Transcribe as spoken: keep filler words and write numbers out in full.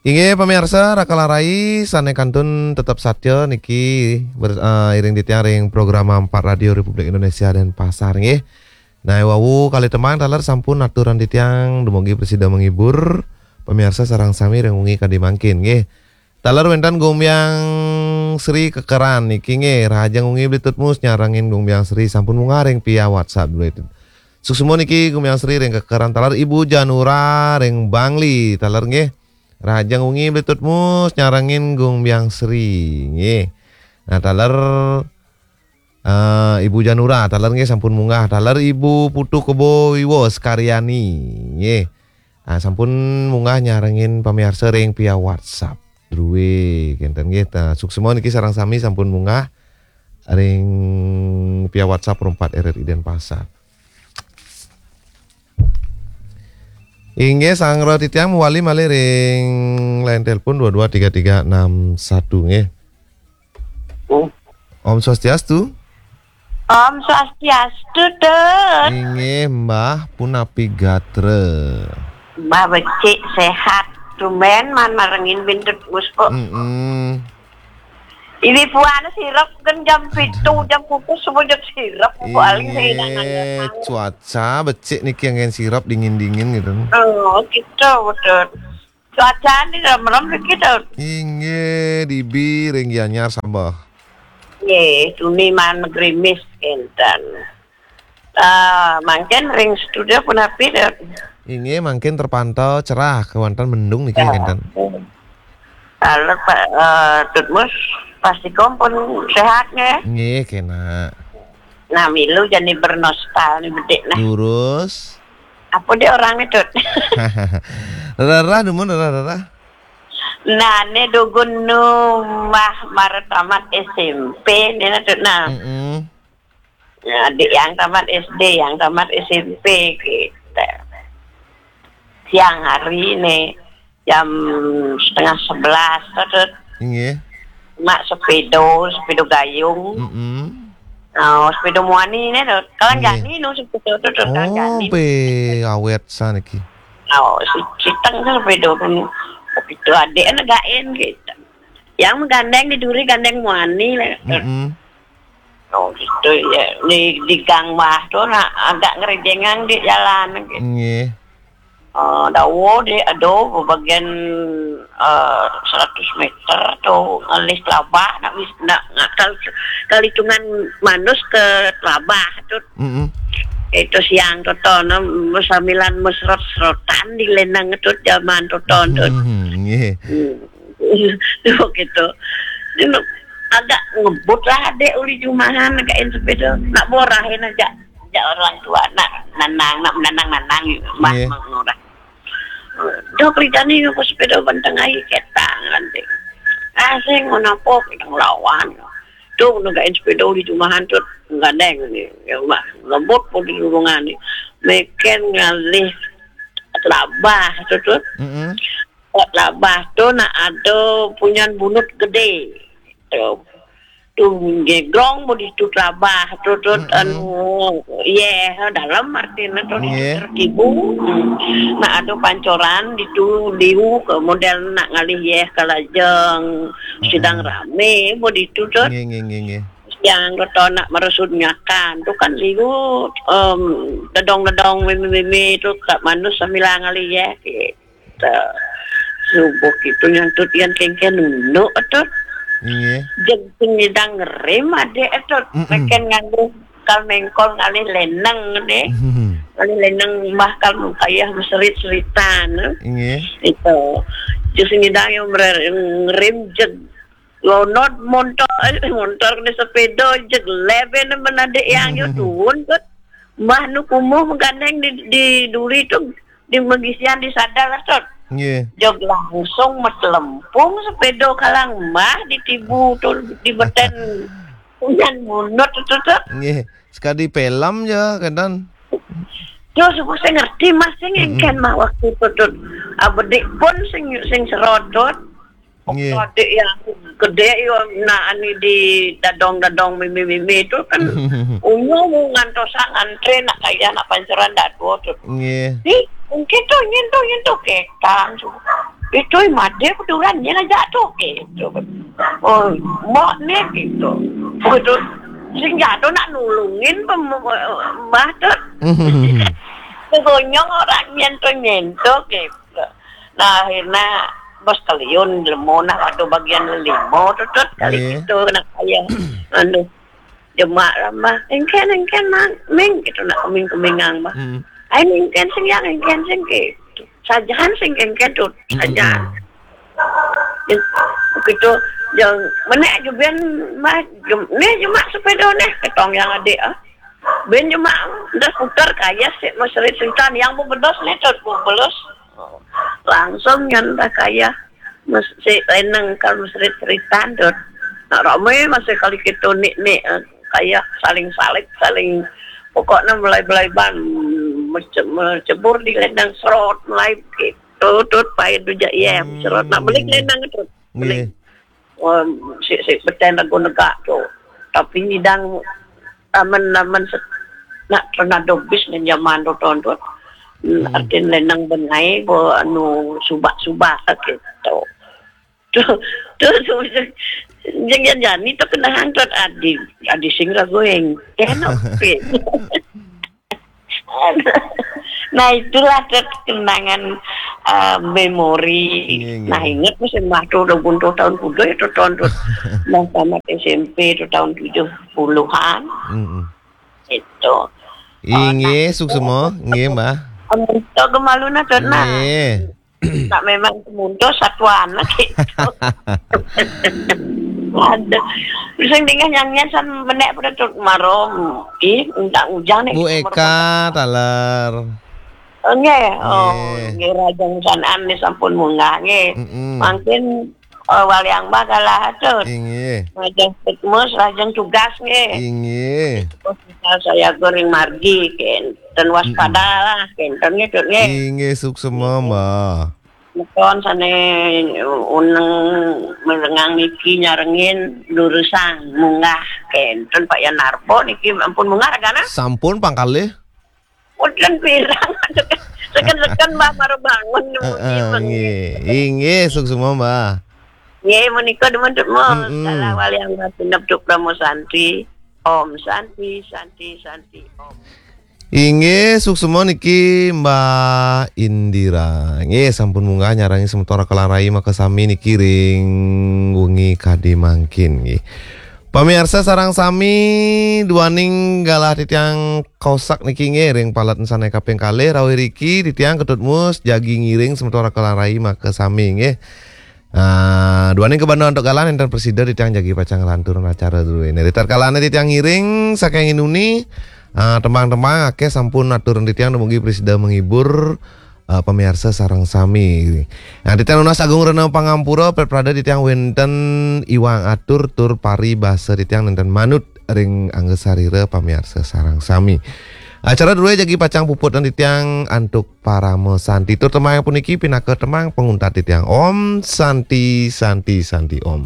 Inggih, pamiarsa, Rakal Arai, sané kantun tetep satya niki ber-, eh, iring titiang ring program Empat Radio Republik Indonesia Denpasar, nggih. Nah, wau kalih tembang taler sampun aturan titiang dumugi prasida menghibur pamiarsa sareng sami ring wengi kadi mangkin, nggih. Taler wénten Gumbyang Sri Kekeran niki, nggih, rahajeng wengi Bli Tutmus, nyarengin Gumbyang Sri sampun munggah ring via WhatsApp dulu itu. Suksma niki Gumbyang Sri ring Kekeran, taler Ibu Janura ring Bangli, taler, nggih. Rahajeng wengi Bli Tutmus, nyarengin Gumbyang Sri, nggih. Nah, taler, eh, Ibu Janura, taler, nggih, sampun munggah. Taler Ibu Putu Kebo Wiwo Sekaryani, nggih. Ah, sampun munggah nyarengin pamiarsa ring via WhatsApp. Druwé, kénten, nggih. Nah, suksma niki sareng sami sampun munggah ring via WhatsApp Pro Empat R R I Denpasar. Inggih, sareng titiang mawali malih ring line telepon dua dua tiga tiga enam satu, nggih. Oh. Om Swastiastu. Om Swastiastu, Tut. Inggih, Mbah, punapi gatra? Mbah becik, sehat. Tumben maan marengin Bli Tutmus kok. Mm-mm. Ini buana sirep kan jam pitu, jam kukus semua jam sirep, kok aling saya nak nanya. Inggih, cuaca becik niki anggén sirep dingin-dingin gitu. Oh, gitu, betul. Cuaca ini rem-rem niki, Tut. Inggih, dibi ring Gianyar sambah. Nggih, tuni maan magrimis kénten. Ah, mangkin ring studio punapi, Tut? Inggih, mangkin terpantau cerah, kéwanten mendung niki, ya, kénten. Kalau Pak, eh, Tutmus pasti pun sehat, nggih? Nggih, kénak. Nah, milu jani bernostal nih bedik, nah. Lurus. Apa dia orangnya, Tut? Rerah, dumun rerah, rerah. Nah, ini dugun nu mah mara tamat S M P, nih, nah, Tut, nah. Mm-mm. Ya, adik yang tamat S D, yang tamat S M P kita. Siang hari nih, jam setengah sebelas, Tut. Inggih. Mak sepeda, sepeda gayung. Mm-mm. Oh, sepeda muani nih, Tut. Kalang, inggih, jani nu sepeda, Tut, Tut, kalang, oh, jani. Be awet saniki. Oh, si citeng tuh sepeda nu. Itu adik negain gitu. Yang menggandeng di duri gandeng muani lah, Tut. Mm-mm. Oh, gitu ya. Di, di gang mah tuh, nah, agak ngerijengan di jalan gitu. Nggih. Eh, dawa di, aduh, bagian, eh, seratus meter atau ngalih telabah, nak wis, nak, nak kal-, kalitungan manus ke telabah tuh. Mm-mm. Itu siang tuh, tuh, nah, sambilan mesrot-serotan di lenang tuh, zaman tuh, tuh, tuh. Nggih. Hmm. Begitu. Dia agak ngebut lah adik uli jumahan, agak sepeda. Nak borahin aja. Aja orang tua, nak nanang, nak menanang-nanang, mah, iya, mengurang. Dok, ridani aku sepeda benteng aja ketang nanti. Ah, saya mau napo, kita ngelawan. Tuh, negain sepeda uli jumahan tuh, gandeng nih. Ya, mah, ngebut pun di lurungan nih. Meken ngalih telabah tuh, tuh. Mm-mm. Kok labah tu nak ada punyan bunut gede. Tu. Tu gegrong mau ditu labah tu, tu, mm-mm, anu, yeh, dalam artinya tu, nggih, tertibu. Hmm. Nak ada pancoran ditu liu ke model nak ngalih yeh ke lajeng, mm-mm, sidang rame mau ditu tu. Nggih, nggih, nggih, nggih. Yang kata nak meresut nyakan tu kan liu, em, dedong-dedong mimi-mimi tu kat manus sambil ngalih yeh. Gitu. Subuh gitu nyantut yang kengken nunduk, Tut. Iya. Jeng sing nyidang ngerim, adik, Tut. Mm-mm. Meken nganggo kal mengkol ngalih leneng, deh. Mm-hmm. Ngalih leneng mah kal mengkayah meserit-seritan, eh. Iya. Itu. Jeng sing nyidang yang merer-, ngerim jeg lonot montor, eh, montor kena sepeda, jeg leben menadik yang yo, mm-hmm, tuun, Tut. Mbah nu kumuh menggandeng di, di duri tu di magisian di sadar, Tut. Nggih. Jog langsung metelempung sepeda kalang mah di tibu tu di beten punyan bunut tu, Tut. Nggih. Sekadi film ya, kadang. Terus aku sing ngerti mah sing, mm-mm, engken mah waktu tu, Tut. Abedik pun sing, sing serot, Tut. Nggih. Adik yang gede yo, nak ani di dadong-dadong mimi-mimi tu kan. Unyu mu ngantosan antre nak kaya nak panceran datu tu. Nggih. Di, mungkin tu nyen tu, nyen tu ketang tu. Itu made kuduran nya aja tu gitu. Oh, mbok nih gitu. Begitu sing jatuh nak nulungin pem- mbah tu. Gonyong orang nyentuh-nyentuh gitu. Nah, akhirnya bos kaliun lemo nah, ada bagian limo tutut kali gitu nak kaya. Anu, jemak lah mah. Engken, engken, Mang. Ming gitu nak keming-kemingang mah. Ai engken sing yang engken sing gitu. Sajahan sing engken tu saja. Begitu yang menek juga mah jem, nih jemak sepeda nih ketong yang adik ah. Ben jemak udah putar kaya si mesrit sintan yang bebedos nih tu bebedos. Langsung nyan dah kaya si leneng kan mesrit seritan tu. Nak ramai masih kali kita nik nik eh, kaya saling salib saling pokoknya mulai belai ban mece- mecebur di leneng serot mulai gitu tut pahit tu je iya serot nak beli leneng tu beli. Wah, si si beten lagu negak tu. Tapi nyidang aman aman se- nak tornado bis dengan zaman tu tahun tu. Hmm, artin lenang bengai bo anu subak-subak gitu. Tu tu tu jeng jani tu kenang tu adi adi sing ragu yang kena. Nah itulah tu kenangan uh, memori. Nah ingat mesti mah tu udah buntu tahun kuda itu tahun tu. Nah tamat S M P itu tahun tujuh puluhan. Itu. Inggih, suksma. Inggih, Mbah. Amun to gemaluna to nah. Inggih. Tak memang kemunto satuan gitu. Aduh. Sing dingeh nyang nyen san menek pada tut marom. Ih, entah ujang nih. Bu Eka taler. Nggih. Oh, nggih rajang sanan nih sampun munggah nggih. Mangkin Oh, waliang bah galah atur. Inggih. Lajeng fitmus, lajeng tugas nggih. Inggih. Hospital saya goreng margi kenten waspada lah kenten nggih Dut nggih. Inggih suksema Mbah. Meton sane uneng merengang niki nyarengin lurusang munggah kenten Pak Yan Narbo niki ampun munggah ragana. Sampun pangkalih. Mudun pirang. Seken-seken Mbah mara bangun. Heeh, nggih. Inggih, suksema, Mbah. Nggih, menika demen tut mo. Salah wali yang Mbah pinep tuk Brahma Santi. Om Santi, Santi, Santi, Om. Inggih, suksema niki Mbah Indira. Nggih, sampun munggah nyarangi semeton Raka Rai maka sami niki ring wengi kadi mangkin nggih. Pamiarsa sareng sami duaning galah titiang Kosak niki nggih ring palet sane kaping kalih rawuh riki titiang Ketut Mus jagi ngiring semeton Raka Rai maka sami nggih. Ah, duaning kabanda antuk galah nenten prasida titiang jagi pacang nglanturang acara duene. Ritatkala titiang ngiring saking inuni ah, tembang-tembang akeh sampun atur titiang dumugi prasida menghibur ah, pamiarsa sareng sami. Nah, titiang nunas agung rena pangampura pepradé titiang wenten iwang atur tur paribasa titiang nenten manut ring angga sarira pamiarsa sareng sami. Acara drué jagi pacang puput titiang antuk parama santi. Tur tembang puniki pinaka tembang panguntat titiang. Om Santi, Santi, Santi Om.